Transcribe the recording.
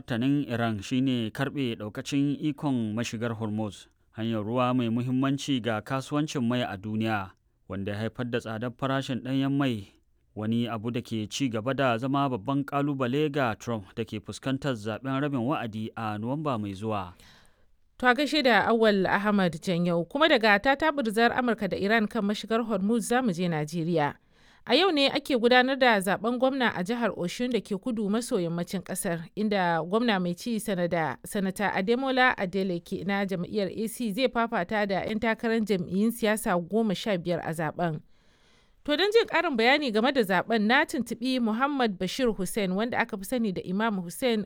Martanin Iran shi ne karɓe ɗaukacin ikon mashigar Hormuz, hanyar ruwa mai muhimmanci ga kasuwancin mai a duniya, wanda ya haifar da tsadar farashin ɗanyen mai, wani abu da ke ci gaba da zama babban ƙalubale ga Trump da ke fuskantar zaɓen rabin wa'adi a Nuwamba mai zuwa. To a gaishe da Awal Ahmad Janyau kuma daga tatabirzar Amurka da Iran kan mashigar Hormuz zamu je Najeriya. A yau ne ake gudanar da zaben gwamna a jihar Oshun da ke kudu maso yammacin kasar, inda gwamna mai ci sanata Ademola Adeleke na jam'iyyar AC zai fafata da 'yan takarar jam'iyyun siyasa 15 a zaben. To don jin ƙarin bayani game da zaben na tuntuɓi Muhammad Bashir Hussein, wanda aka fi sani da Imam Hussein.